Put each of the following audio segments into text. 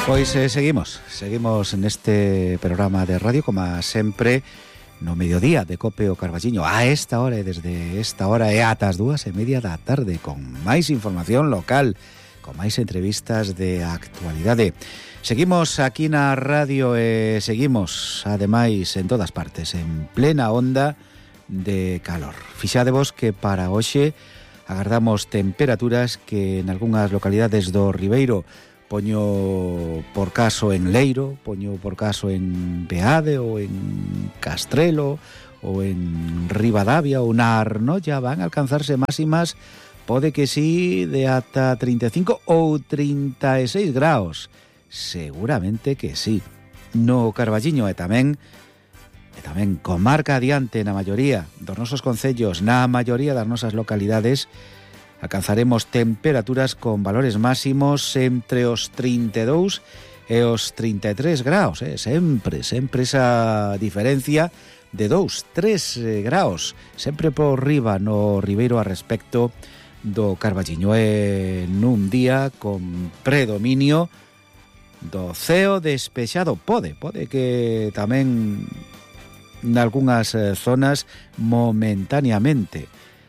Pois seguimos neste programa de radio, como sempre, no mediodía de Cope o Carballiño, a esta hora e desde esta hora e ata as 2:30 da tarde, con máis información local, con máis entrevistas de actualidade. Seguimos aquí na radio e seguimos, ademais, en todas partes, en plena onda de calor. Fixadevos que para hoxe agardamos temperaturas que en algunhas localidades do Ribeiro, poño por caso en Leiro, poño por caso en Beade ou en Castrelo ou en Ribadavia ou na Arnolla, van a alcanzarse máximas, pode que sí, de ata 35 ou 36 graus. Seguramente que sí. No Carballiño e tamén comarca adiante na maioría dos nosos concellos, na maioría das nosas localidades, alcanzaremos temperaturas con valores máximos entre os 32 e os 33 graus, sempre esa diferencia de 2-3 graus, sempre por riba no Ribeiro a respecto do Carballiño, nun día con predominio do ceo despexado. Pode que tamén nalgúnas zonas momentaneamente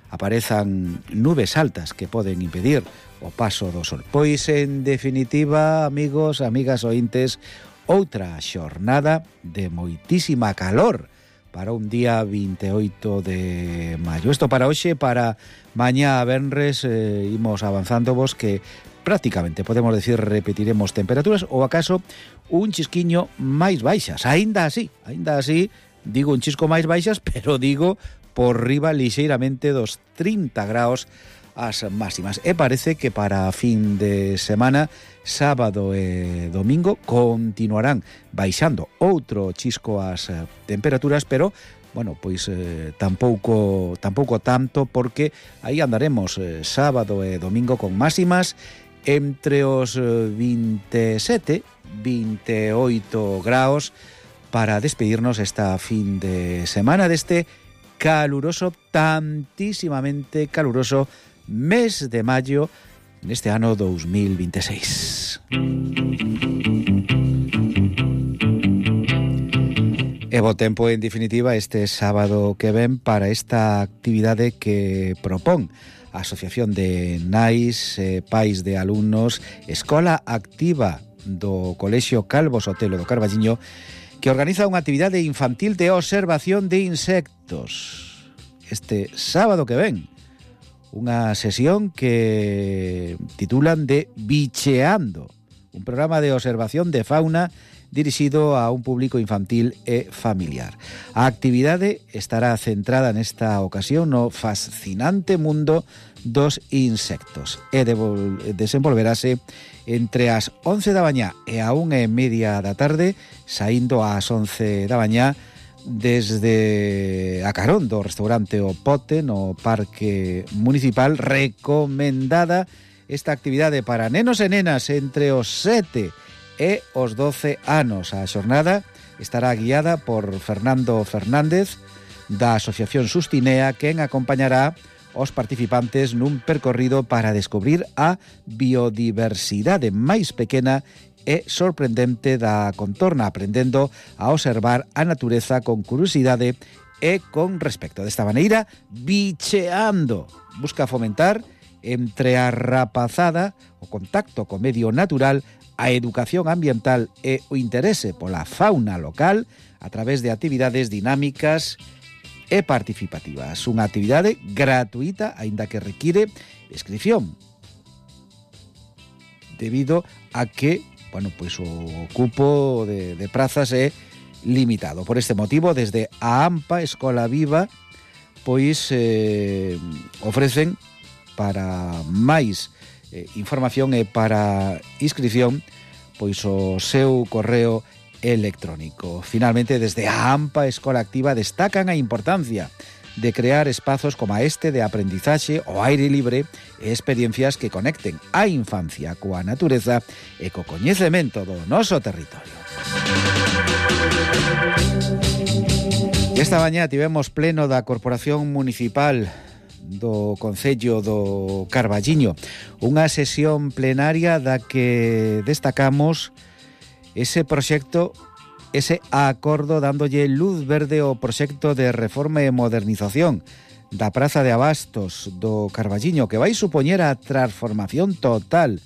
aparezan nubes altas que poden impedir o paso do sol. Pois, en definitiva, amigos, amigas ointes, outra xornada de moitísima calor para un día 28 de maio. Isto para hoxe, para mañá venres, imos avanzándovos que prácticamente, podemos decir, repetiremos temperaturas ou acaso un chisquiño máis baixas. Aínda así, digo un chisco máis baixas, pero digo por riba lixeiramente dos 30 graus as máximas. E parece que para fin de semana, sábado e domingo, continuarán baixando outro chisco as temperaturas, pero, bueno, pois tampouco tanto, porque aí andaremos sábado e domingo con máximas entre os 27, 28 graus para despedirnos esta fin de semana deste caluroso, tantísimamente caluroso mes de maio neste ano 2026. E bo tempo, en definitiva, este sábado que ven para esta actividade que propón a Asociación de Nais, Pais de Alumnos, Escola Activa do Colexio Calvo Sotelo do Carballiño, que organiza unha actividade infantil de observación de insectos. Este sábado que ven, unha sesión que titulan de Bicheando, un programa de observación de fauna dirixido a un público infantil e familiar. A actividade estará centrada nesta ocasión no fascinante mundo dos insectos e desenvolverase entre as 11 da mañá e a 1:30 da tarde, saindo ás 11 da mañá desde a carón do restaurante O Pote no Parque Municipal. Recomendada esta actividade para nenos e nenas entre os 7 e os 12 anos. A xornada estará guiada por Fernando Fernández da Asociación Sustinea, quen acompañará os participantes nun percorrido para descubrir a biodiversidade máis pequena e sorprendente da contorna, aprendendo a observar a natureza con curiosidade e con respecto. Desta maneira, Bicheando busca fomentar entre a rapazada o contacto co medio natural, a educación ambiental e o interese pola fauna local a través de actividades dinámicas e participativas. Unha actividade gratuita, aínda que require inscripción, debido a que, bueno, pois o cupo de prazas é limitado. Por este motivo, desde a AMPA Escola Viva, pois ofrecen para máis información e para inscripción pois o seu correo electrónico. Finalmente, desde a AMPA Escola Activa destacan a importancia de crear espazos como este de aprendizaxe ao aire libre e experiencias que conecten a infancia coa natureza e co coñecemento do noso territorio. Esta mañá tivemos pleno da Corporación Municipal do Concello do Carballiño, unha sesión plenaria da que destacamos ese proxecto, ese acordo dándolle luz verde ao proxecto de reforma e modernización da Praza de Abastos do Carballiño, que vai supoñer a transformación total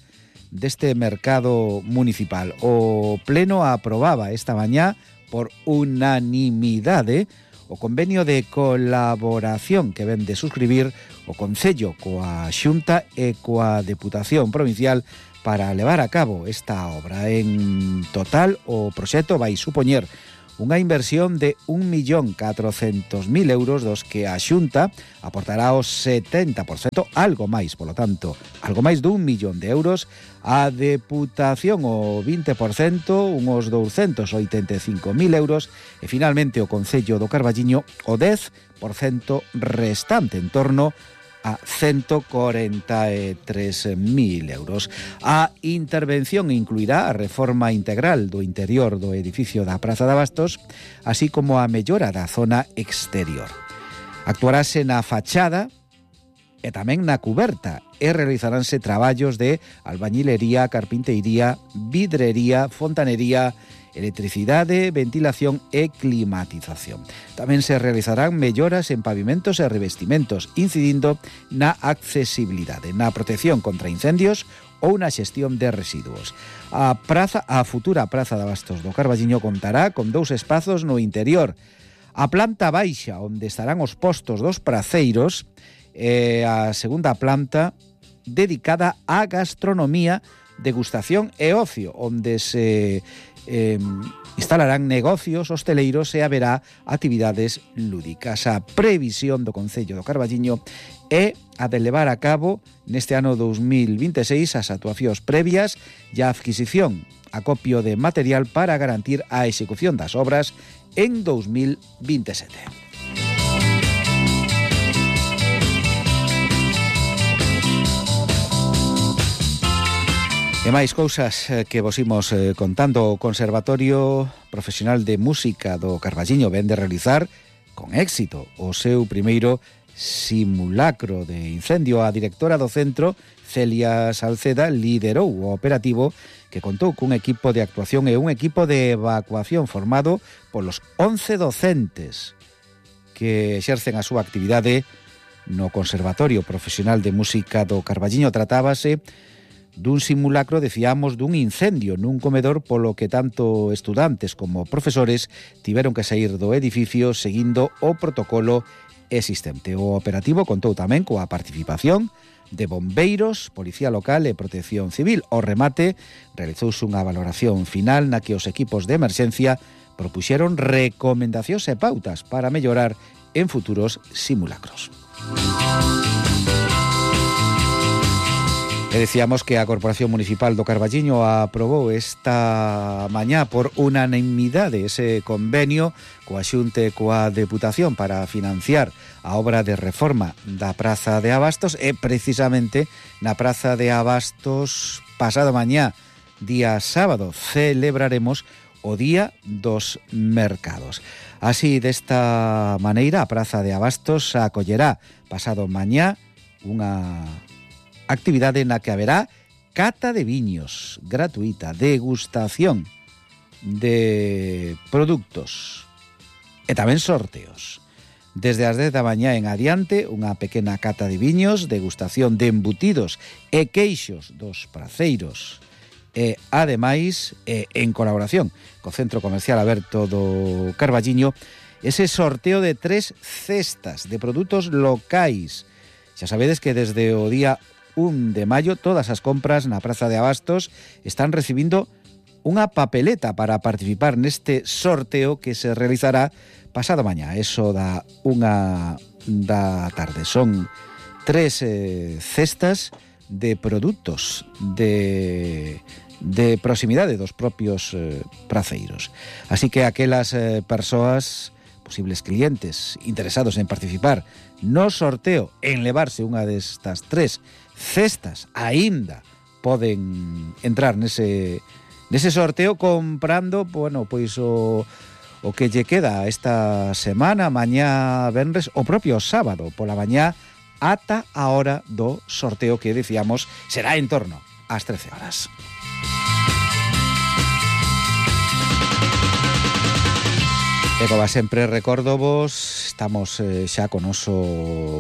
deste mercado municipal. O Pleno aprobaba esta mañá por unanimidade o convenio de colaboración que ven de suscribir o Concello coa Xunta e coa Deputación Provincial para levar a cabo esta obra. En total, o proxecto vai supoñer unha inversión de 1.400.000 euros, dos que a Xunta aportará o 70%, algo máis, polo tanto, algo máis dun millón de euros, a Deputación o 20%, unos 285.000 euros, e finalmente o Concello do Carballiño o 10% restante, en torno a 143.000 euros. A intervención incluirá a reforma integral do interior do edificio da Praza de Abastos, así como a mellora da zona exterior. Actuarase na fachada e tamén na cuberta e realizaránse traballos de albañilería, carpinteiría, vidrería, fontanería, electricidade, ventilación e climatización. Tamén se realizarán melloras en pavimentos e revestimentos, incidindo na accesibilidade, na protección contra incendios ou na xestión de residuos. A futura Praza de Abastos do Carballiño contará con 2 espazos no interior. A planta baixa, onde estarán os postos dos praceiros, e a segunda planta dedicada á gastronomía, degustación e ocio, onde se instalarán negocios hosteleiros e haberá actividades lúdicas. A previsión do Concello do Carballiño é a de levar a cabo neste ano 2026 as actuacións previas e a adquisición, acopio de material para garantir a execución das obras en 2027. E máis cousas que vos imos contando. O Conservatorio Profesional de Música do Carballiño ven de realizar con éxito o seu primeiro simulacro de incendio. A directora do centro, Celia Salceda, liderou o operativo que contou cun equipo de actuación e un equipo de evacuación formado polos 11 docentes que exercen a súa actividade no Conservatorio Profesional de Música do Carballiño. Tratábase dun simulacro, decíamos, dun incendio nun comedor, polo que tanto estudantes como profesores tiveron que sair do edificio seguindo o protocolo existente. O operativo contou tamén coa participación de bombeiros, Policía Local e Protección Civil. Ao remate, realizouse unha valoración final na que os equipos de emerxencia propuxeron recomendacións e pautas para mellorar en futuros simulacros. E decíamos que a Corporación Municipal do Carballiño aprobou esta mañá por unanimidade ese convenio coa Xunta e coa Deputación para financiar a obra de reforma da Praza de Abastos, e precisamente na Praza de Abastos pasado mañá, día sábado, celebraremos o Día dos Mercados. Así, desta maneira, a Praza de Abastos acollerá pasado mañá unha actividade na que haberá cata de viños gratuita, degustación de produtos e tamén sorteos. Desde as 10 da mañá en adiante, unha pequena cata de viños, degustación de embutidos e queixos dos praceiros. E, ademais, en colaboración co Centro Comercial Aberto do Carballiño, ese sorteo de 3 cestas de produtos locais. Xa sabedes que desde o día 1 de maio todas as compras na Praza de Abastos están recibindo unha papeleta para participar neste sorteo que se realizará pasado mañá, eso da 1 da tarde. Son 3 cestas de produtos de proximidade dos propios praceiros. Así que aquelas persoas, posibles clientes interesados en participar no sorteo, en levarse unha destas 3 cestas, aínda poden entrar nese sorteo comprando, bueno, pois o que lle queda esta semana, mañá venres, o propio sábado pola mañá, ata a hora do sorteo, que decíamos será en torno ás 13 horas. E como sempre recórdovos, estamos xa con noso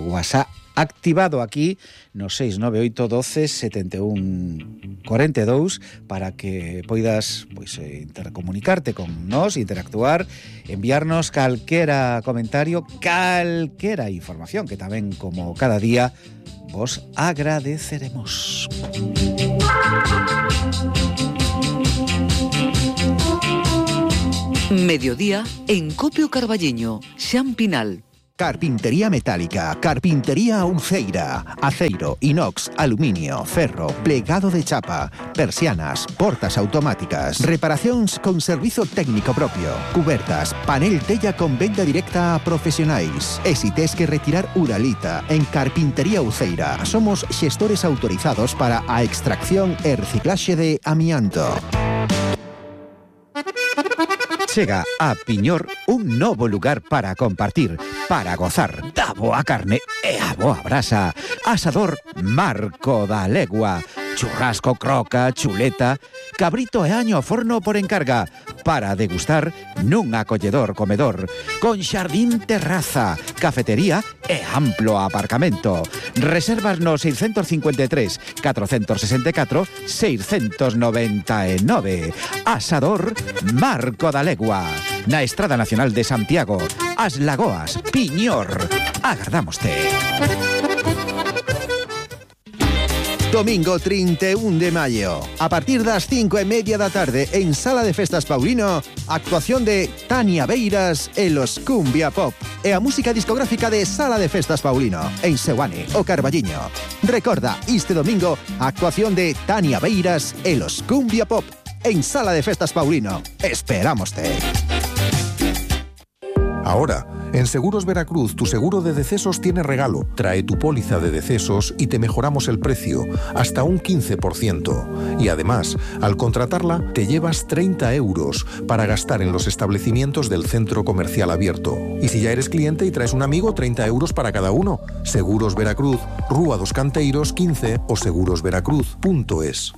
WhatsApp activado aquí no 698 12 71 42 para que poidas intercomunicarte con nós, interactuar, enviarnos calquera comentario, calquera información que tamén, como cada día, vos agradeceremos. Mediodía en Copio Carballiño, Xampinal. Carpintería metálica, carpintería Uceira, aceiro, inox, aluminio, ferro, plegado de chapa, persianas, portas automáticas, reparacións con servizo técnico propio, cubertas, panel tella con venda directa a profesionais. E si tes que retirar uralita, en Carpintería Uceira somos xestores autorizados para a extracción e reciclaxe de amianto. Chega a Piñor un novo lugar para compartir, para gozar da boa carne e a boa brasa. Asador Marco da Legua. Churrasco, croca, chuleta, cabrito e año ao forno por encarga, para degustar nun acolledor comedor, con xardín terraza, cafetería e amplo aparcamento. Reservas no 653 464 699. Asador Marco da Legua, na Estrada Nacional de Santiago, As Lagoas, Piñor. Agardámoste. Domingo 31 de maio, a partir das 5:30 da tarde, en Sala de Festas Paulino, actuación de Tania Beiras e los Cumbia Pop e a música discográfica de Sala de Festas Paulino, en Seoane, o Carballiño. Recorda, este domingo, actuación de Tania Beiras e los Cumbia Pop en Sala de Festas Paulino. Esperámoste. Ahora, en Seguros Veracruz, tu seguro de decesos tiene regalo. Trae tu póliza de decesos y te mejoramos el precio, hasta un 15%. Y además, al contratarla, te llevas 30 euros para gastar en los establecimientos del centro comercial abierto. Y si ya eres cliente y traes un amigo, 30 euros para cada uno. Seguros Veracruz, Rúa dos Canteiros 15 o segurosveracruz.es.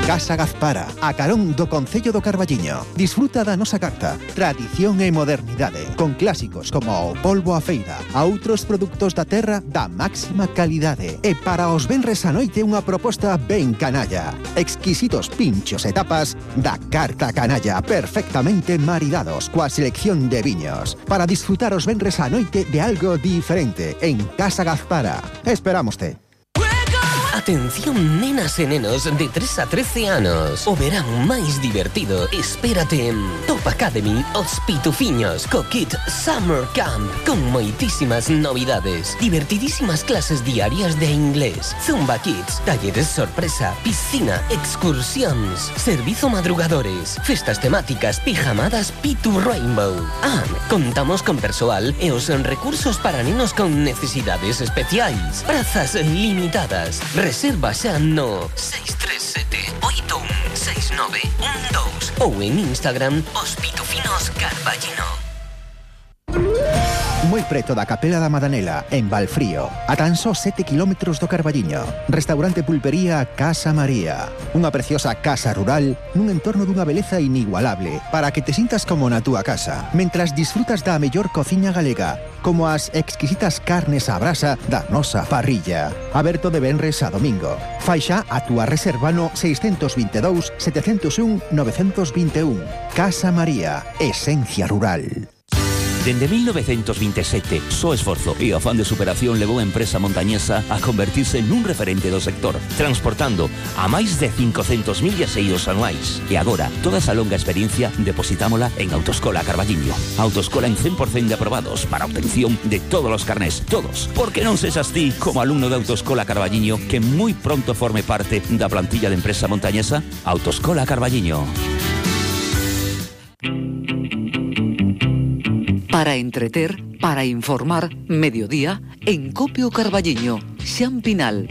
Casa Gazpara, a carón do Concello do Carballiño. Disfruta da nosa carta, tradición e modernidade, con clásicos como o polvo a feira, a outros produtos da terra da máxima calidade. E para os venres a noite unha proposta ben canalla. Exquisitos pinchos e tapas da carta canalla, perfectamente maridados coa selección de viños. Para disfrutar os venres a noite de algo diferente en Casa Gazpara. Esperámoste. Atención, nenas e nenos de 3 a 13 anos. O verán máis divertido espérate en Top Academy Os Pitufiños co Kit Summer Camp, con moitísimas novidades, divertidísimas clases diarias de inglés, Zumba Kids, talleres sorpresa, piscina, excursións, servizo madrugadores, festas temáticas, pijamadas Pitu Rainbow. Contamos con persoal e os recursos para nenos con necesidades especiais. Prazas limitadas. Reserva xa no 637-816912 ou en Instagram Os Pitufinos Carballino. Moi preto da Capela da Madanela, en Valfrío, a tan só 7 kilómetros do Carballiño. Restaurante Pulpería Casa María. Unha preciosa casa rural nun entorno dunha beleza inigualable para que te sintas como na túa casa, mentras disfrutas da mellor cociña galega, como as exquisitas carnes á brasa da nosa parrilla. Aberto de venres a domingo. Fai xa a túa reserva no 622 701 921. Casa María, esencia rural. Dende 1927, só esforzo e afán de superación levou a empresa montañesa a convertirse nun referente do sector, transportando a máis de 500.000 viaxeiros anuais. E agora, toda esa longa experiencia depositámola en Autoescola Carballiño. Autoescola en 100% de aprobados para obtención de todos os carnés, todos. Porque non sexas ti, como alumno de Autoescola Carballiño, que moi pronto forme parte da plantilla de empresa montañesa. Autoescola Carballiño. Para entreter, para informar, mediodía, en Copio Carballiño, Xampinal.